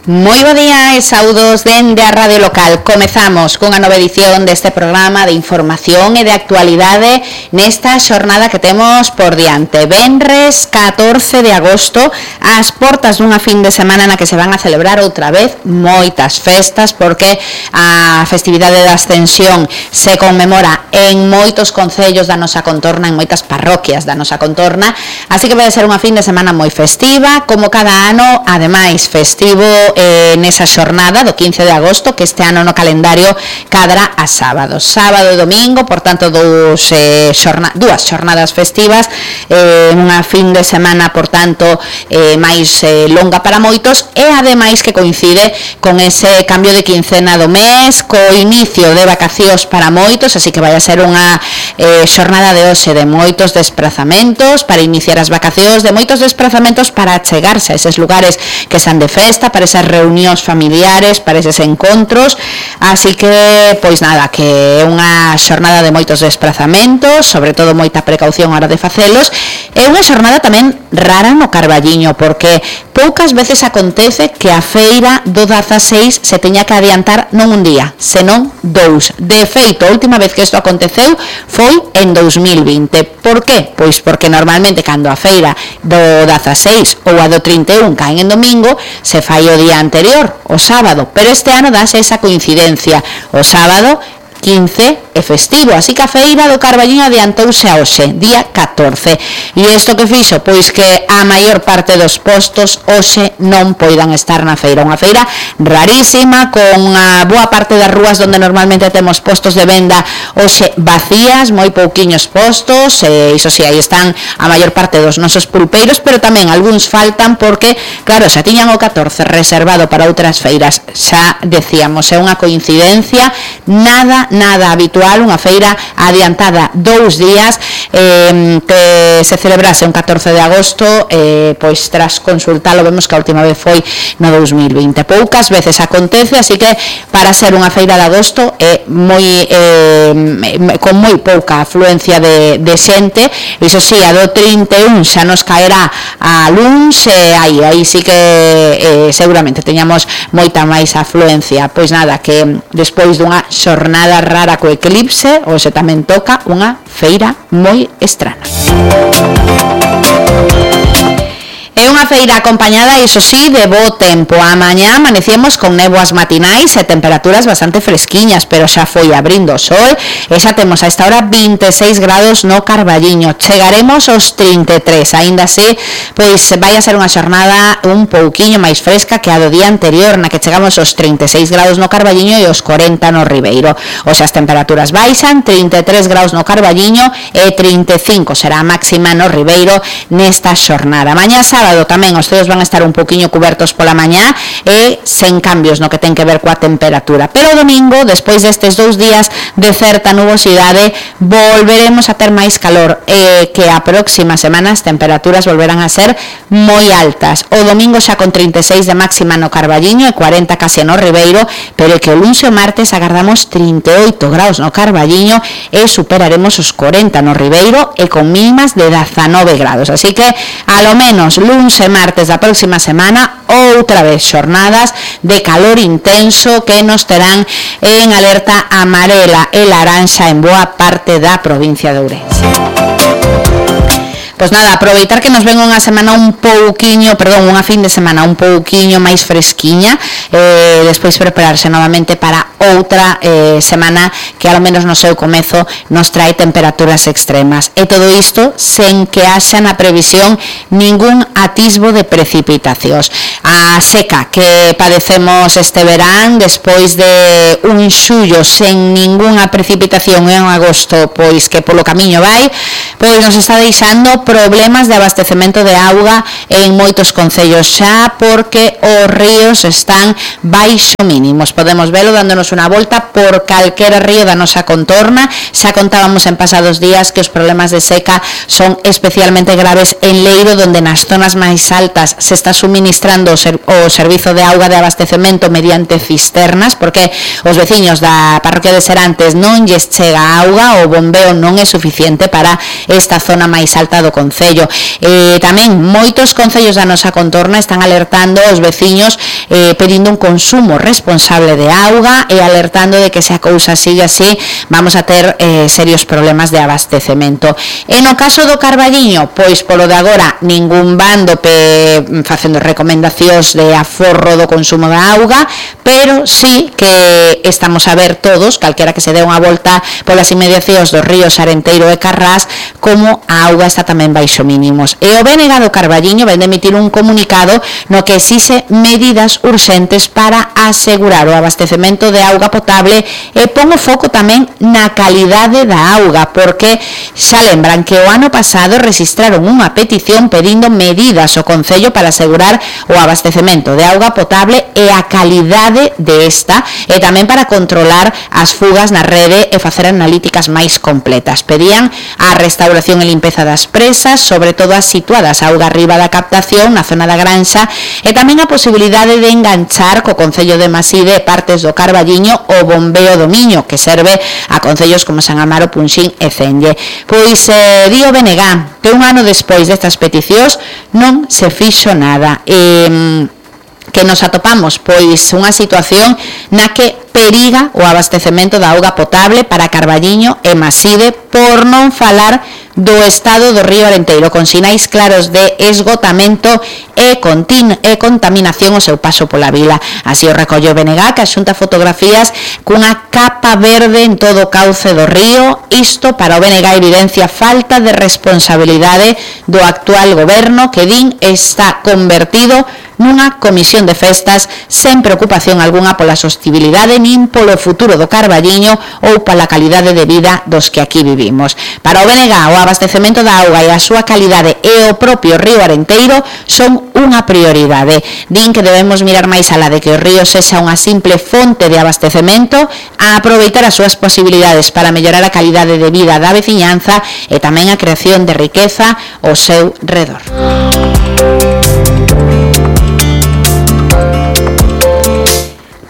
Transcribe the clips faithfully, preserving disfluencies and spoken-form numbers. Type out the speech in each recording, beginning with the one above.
Moi bo día e saudos dende a Radio Local. Comezamos cunha nova edición deste programa de información e de actualidade nesta xornada que temos por diante. Venres catorce de agosto, ás portas dunha fin de semana na que se van a celebrar outra vez moitas festas, porque a festividade da Ascensión se conmemora en moitos concellos da nosa contorna, en moitas parroquias da nosa contorna, así que vai ser unha fin de semana moi festiva, como cada ano, ademais festivo Eh, nesa xornada do quince de agosto, que este ano no calendario cadra a sábado sábado e domingo, por tanto dos, eh, xorna, dúas xornadas festivas, eh, unha fin de semana por tanto eh, máis eh, longa para moitos, e ademais que coincide con ese cambio de quincena do mes, co inicio de vacacións para moitos, así que vai a ser unha eh, xornada de hoxe de moitos desprazamentos para iniciar as vacacións, de moitos desprazamentos para chegarse a eses lugares que están de festa, para esas reunións familiares, para eses encontros, así que, pois nada, que é unha xornada de moitos desprazamentos, sobre todo moita precaución a hora de facelos, é unha xornada tamén rara no Carballiño, porque poucas veces acontece que a feira do dezaseis se teña que adiantar non un día, senón dous. De feito, a última vez que isto aconteceu foi en dous mil vinte. Por qué? Pois porque normalmente cando a feira do dezaseis ou a do trinta e un caen en domingo, se fai o día anterior, o sábado, pero este ano dáse esa coincidencia, o sábado quince é festivo, así que a feira do Carballiño adiantouse a hoxe, día catorce, e isto que fixo, pois que a maior parte dos postos hoxe non poidan estar na feira, unha feira rarísima, con a boa parte das rúas onde normalmente temos postos de venda hoxe vacías, moi pouquiños postos, e iso si, aí están a maior parte dos nosos pulpeiros, pero tamén algúns faltan porque, claro, xa tiñan o catorce reservado para outras feiras, xa decíamos, é unha coincidencia nada nada habitual, unha feira adiantada dous días, eh, que se celebrase un catorce de agosto, eh, pois tras consultalo vemos que a última vez foi no dous mil vinte. Poucas veces acontece, así que para ser unha feira de agosto é moi eh, con moi pouca afluencia de, de xente, iso si, a do trinta e un xa nos caerá a luns, e aí, aí sí que eh, seguramente teñamos moita máis afluencia. Pois nada, que despois dunha xornada rara co eclipse, hoxe tamén toca unha feira moi estrana. É unha feira acompañada, iso sí, de bo tempo. A mañá amanecemos con néboas matinais e temperaturas bastante fresquiñas, pero xa foi abrindo o sol, e xa temos a esta hora vinte e seis grados no Carballiño. Chegaremos aos trinta e tres, aínda así, pois vai a ser unha xornada un pouquiño máis fresca que a do día anterior, na que chegamos aos trinta e seis grados no Carballiño e aos cuarenta no Ribeiro. O xa as temperaturas baixan, trinta e tres grados no Carballiño e trinta e cinco será a máxima no Ribeiro nesta xornada. Mañá sábado tamén os ceos van a estar un poquinho cubertos pola mañá e sen cambios no que ten que ver coa temperatura, pero o domingo, despois destes dous días de certa nubosidade, volveremos a ter máis calor, e que a próxima semana as temperaturas volverán a ser moi altas. O domingo xa con trinta e seis de máxima no Carballiño e cuarenta case no Ribeiro, pero que o luns e o martes agardamos trinta e oito graus no Carballiño e superaremos os cuarenta no Ribeiro, e con mínimas de dezanove grados, así que a lo menos luns e martes da próxima semana outra vez xornadas de calor intenso que nos terán en alerta amarela e laranxa en boa parte da provincia de Ourense. Pois nada, aproveitar que nos ven unha semana un pouquiño, perdón, unha fin de semana un pouquiño máis fresquiña, eh, despois prepararse novamente para outra eh, semana que ao menos no seu comezo nos trae temperaturas extremas. E todo isto sen que haxa na previsión ningún atisbo de precipitacións. A seca que padecemos este verán, despois de un xullo sen ningunha precipitación en agosto, pois que polo camiño vai, pois nos está deixando problemas de abastecemento de auga en moitos concellos xa, porque os ríos están baixo mínimos. Podemos velo dándonos unha volta por calquera río da nosa contorna. Xa contábamos en pasados días que os problemas de seca son especialmente graves en Leiro, donde nas zonas máis altas se está suministrando o, ser, o servizo de auga de abastecemento mediante cisternas, porque os veciños da parroquia de Serantes non lles chega auga, o bombeo non é suficiente para esta zona máis alta do concello. Eh, tamén moitos concellos da nosa contorna están alertando aos veciños eh, pedindo un consumo responsable de auga e alertando de que se a cousa sigue así vamos a ter eh, serios problemas de abastecemento. E no caso do Carballiño, pois polo de agora ningún bando pe, facendo recomendacións de aforro do consumo da auga, pero sí que estamos a ver todos, calquera que se dé unha volta polas inmediacións dos ríos Arenteiro e Carrás, como a auga está tamén baixo mínimos. E o B N G do Carballiño vai emitir un comunicado no que exixe medidas urxentes para asegurar o abastecemento de auga potable e pon o foco tamén na calidade da auga, porque xa lembran que o ano pasado registraron unha petición pedindo medidas ao Concello para asegurar o abastecemento de auga potable e a calidade de esta, e tamén para controlar as fugas na rede e facer analíticas máis completas. Pedían a restauración e limpeza das presas, sobre todo as situadas auga arriba da captación na zona da Granxa, e tamén a posibilidade de enganchar co Concello de Maside e partes do Carballiño o bombeo do Miño, que serve a concellos como San Amaro, Punxín e Celle. Pois eh, di o B N G que un ano despois destas peticións non se fixo nada, e que nos atopamos pois unha situación na que periga o abastecemento da auga potable para Carballiño e Maside, por non falar do estado do río Arenteiro, con sinais claros de esgotamento e, continu, e contaminación ao seu paso pola vila. Así o recolle o B N G, que axunta fotografías cunha capa verde en todo o cauce do río. Isto para o B N G evidencia falta de responsabilidade do actual goberno, que din está convertido nunha comisión de festas sen preocupación algunha pola sostibilidade nin polo futuro do Carballiño ou pola calidade de vida dos que aquí vivimos. Para o B N G, o abastecemento da auga e a súa calidade e o propio río Arenteiro son unha prioridade. Din que debemos mirar máis alá de que o río sexa unha simple fonte de abastecemento, a aproveitar as súas posibilidades para mellorar a calidade de vida da veciñanza e tamén a creación de riqueza ao seu redor.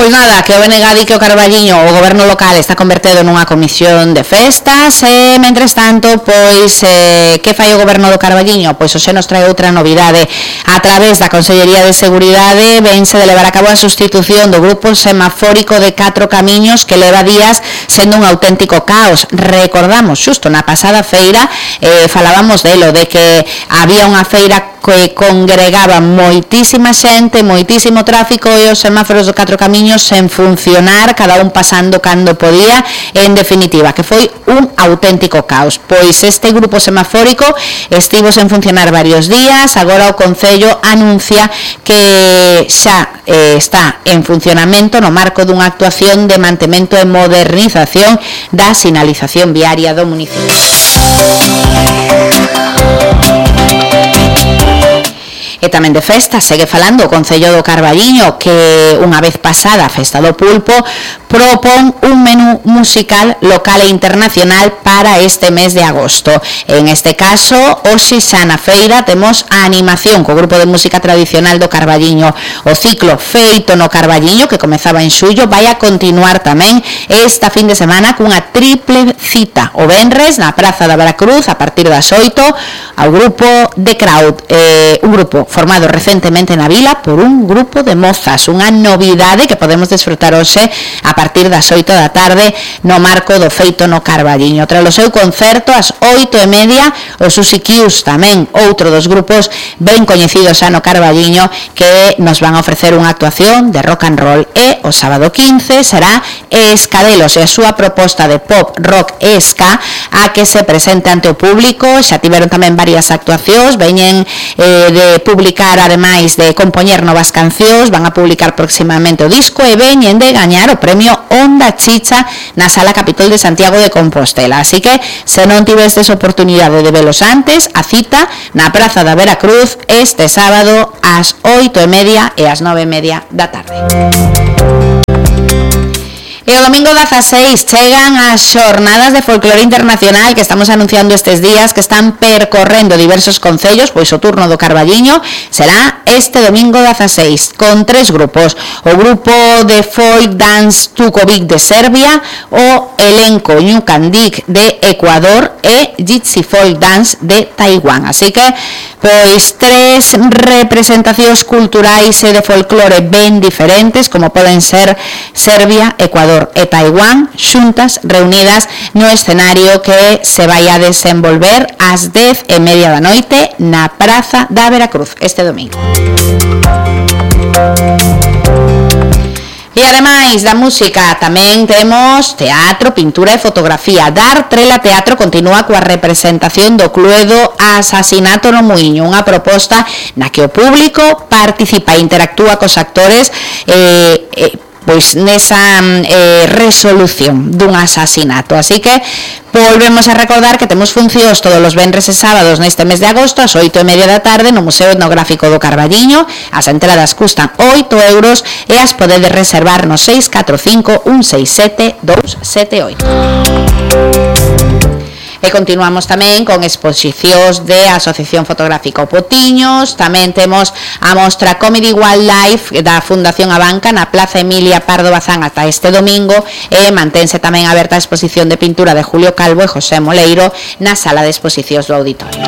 Pois nada, que o B N G di que o Carballiño, o goberno local, está convertido nunha comisión de festas, e, mentres tanto, pois, eh, que fai o goberno do Carballiño? Pois hoxe nos trae outra novidade. A través da Consellería de Seguridade vense de levar a cabo a sustitución do grupo semafórico de catro camiños que leva días sendo un auténtico caos. Recordamos, xusto na pasada feira, eh, falábamos delo, de que había unha feira que congregaba moitísima xente, moitísimo tráfico, e os semáforos do catro camiños sen funcionar, cada un pasando cando podía, e, en definitiva, que foi un auténtico caos. Pois este grupo semafórico estivo sen funcionar varios días, agora o Concello anuncia que xa eh, está en funcionamento no marco dunha actuación de mantemento e modernización da sinalización viaria do municipio. E tamén de festa, segue falando o Concello do Carballiño, que unha vez pasada a Festa do Pulpo propón un menú musical local e internacional para este mes de agosto. En este caso, hoxe xa na feira temos a animación co grupo de música tradicional do Carballiño. O ciclo Feito no Carballiño, que comezaba en xullo, vai a continuar tamén esta fin de semana cunha triple cita o venres na Praza da Veracruz a partir das oito ao grupo The Crowd, eh, un grupo formado recentemente na vila por un grupo de mozas, unha novidade que podemos desfrutar hoxe a partir das oito da tarde no marco do Feito no Carballiño. Tras o seu concerto, ás oito e media, o Susi Kius, tamén outro dos grupos ben coñecidos xa no Carballiño, que nos van a ofrecer unha actuación de rock and roll. E o sábado quince será Escadelos e a súa proposta de pop, rock e ska a que se presente ante o público. Xa tiveron tamén varias actuacións, veñen eh, de publicar, ademais de compoñer novas cancións, van a publicar próximamente o disco e veñen de gañar o premio Onda Chicha na Sala Capitol de Santiago de Compostela. Así que, se non tivestes oportunidade de velos antes, a cita na Praza da Veracruz este sábado ás oito e media e ás nove e media da tarde. E o domingo dezaseis chegan as xornadas de folclore internacional que estamos anunciando estes días, que están percorrendo diversos concellos, pois o turno do Carballiño será este domingo dezaseis, con tres grupos: o grupo de folk dance Tukovic de Serbia, o elenco Ñucandic de Ecuador e Gypsy folk dance de Taiwán. Así que, pois, tres representacións culturais e de folclore ben diferentes, como poden ser Serbia, Ecuador e Taiwán, xuntas, reunidas no escenario que se vai a desenvolver ás dez e media da noite na Praza da Veracruz este domingo. E ademais da música tamén temos teatro, pintura e fotografía. Dar Trela Teatro continúa coa representación do Cluedo Asasinato no Muiño, unha proposta na que o público participa e interactúa cos actores eh, eh, pois nesa eh, resolución dun asasinato. Así que volvemos a recordar que temos funcións todos os venres e sábados neste mes de agosto ás oito e media da tarde no Museo Etnográfico do Carballiño. As entradas custan oito euros e as podedes reservar no seis catro cinco un seis sete dous sete oito. E continuamos tamén con exposicións de Asociación Fotográfica O Potiños. Tamén temos a mostra Comedy Wildlife da Fundación Abanca na Plaza Emilia Pardo Bazán ata este domingo, e mantense tamén aberta a exposición de pintura de Julio Calvo e José Moleiro na sala de exposicións do auditorio.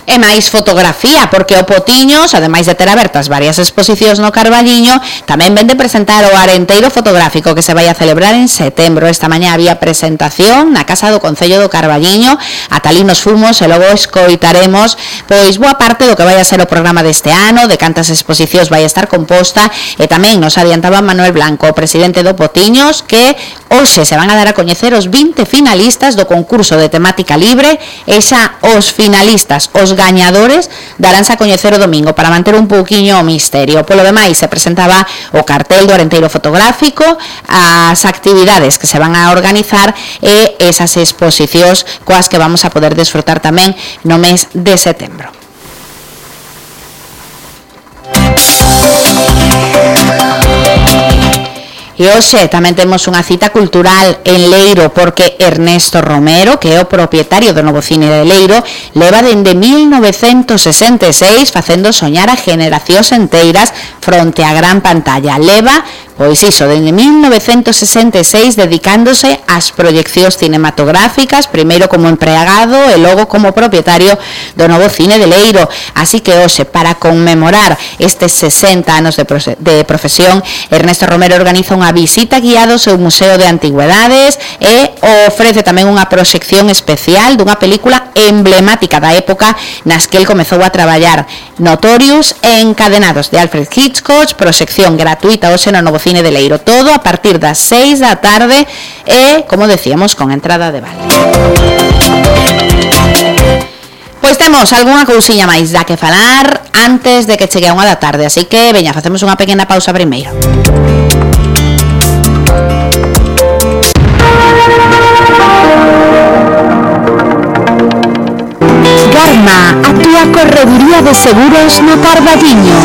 E máis fotografía, porque o Potiños, ademais de ter abertas varias exposicións no Carballiño, tamén vende presentar o Arenteiro Fotográfico que se vai a celebrar en setembro. Esta mañá había presentación na Casa do Concello do Carballiño, ata ali nos fumos e logo escoitaremos pois boa parte do que vai a ser o programa deste ano, de cantas exposicións vai a estar composta, e tamén nos adiantaba Manuel Blanco, o presidente do Potiños, que hoxe se van a dar a coñecer os vinte finalistas do concurso de temática libre, e xa os finalistas, os gañadores, daránse a coñecer o domingo para manter un pouquiño o misterio. Polo demais, se presentaba o cartel do Arenteiro Fotográfico, as actividades que se van a organizar e esas exposicións coas que vamos a poder desfrutar tamén no mes de setembro. E hoxe tamén temos unha cita cultural en Leiro, porque Ernesto Romero, que é o propietario do novo cine de Leiro, leva dende mil novecentos sesenta e seis facendo soñar a generacións enteiras fronte á gran pantalla. Leva, pois iso, dende mil novecentos sesenta e seis dedicándose ás proyeccións cinematográficas, primeiro como empregado e logo como propietario do novo cine de Leiro. Así que hoxe, para conmemorar estes sesenta anos de, de profesión, Ernesto Romero organiza unha visita guiada ao seu Museo de Antigüedades e ofrece tamén unha proxección especial dunha película emblemática da época nas que el comezou a traballar, Notorious e Encadenados, de Alfred Hitchcock, proxección gratuita hoxe no novo cine de Leiro, todo a partir das seis da tarde e, como decíamos, con entrada de vale. Pois temos algunha cousiña máis da que falar antes de que chegue a unha da tarde, así que, veña, facemos unha pequena pausa primeiro. Garma, a túa correduría de seguros no Carballiño.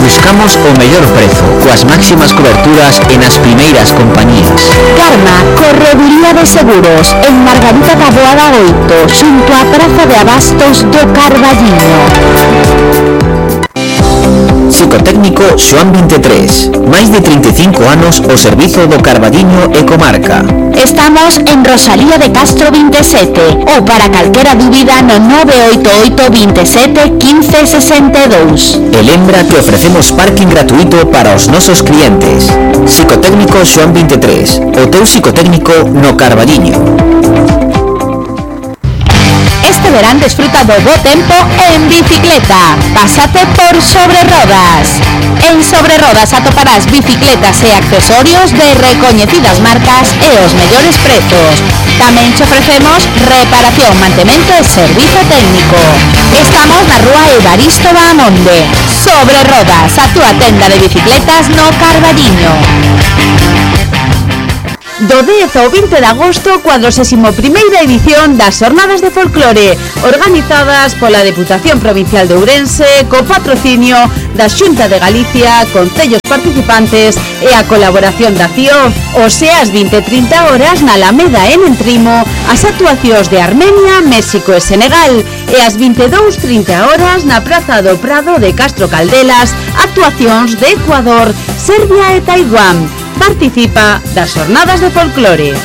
Buscamos o mellor prezo, coas máximas coberturas e nas primeiras compañías. Garma, correduría de seguros, en Margarita Taboada oito, xunto á Praza de Abastos do Carballiño. Psicotécnico Xoán vinte e tres, máis de trinta e cinco anos ao servizo do Carballiño e comarca. Estamos en Rosalía de Castro vinte e sete, ou para calquera dúbida no nove oito oito, veintisiete, quince, sesenta e dous. E lembra que ofrecemos parking gratuito para os nosos clientes. Psicotécnico Xoán vinte e tres, o teu psicotécnico no Carballiño. Este verán desfruta do bo tempo en bicicleta. Pásate por Sobre Rodas. En Sobre Rodas atoparás bicicletas e accesorios de recoñecidas marcas e os mellores prezos. Tamén te ofrecemos reparación, mantemento e servizo técnico. Estamos na rúa Evaristo Bahamonde. Sobre Rodas, a túa tenda de bicicletas no Carballiño. Do dez ao vinte de agosto, cuadragésima primeira edición das Xornadas de Folclore, organizadas pola Deputación Provincial de Ourense, co patrocinio da Xunta de Galicia, concellos participantes e a colaboración da C I O. O sea, ás vinte e trinta horas na Alameda en Entrimo, as actuacións de Armenia, México e Senegal, e ás vinte e dúas e trinta horas na Praza do Prado de Castro Caldelas, actuacións de Ecuador, Serbia e Taiwán. Participa das Xornadas de Folclore.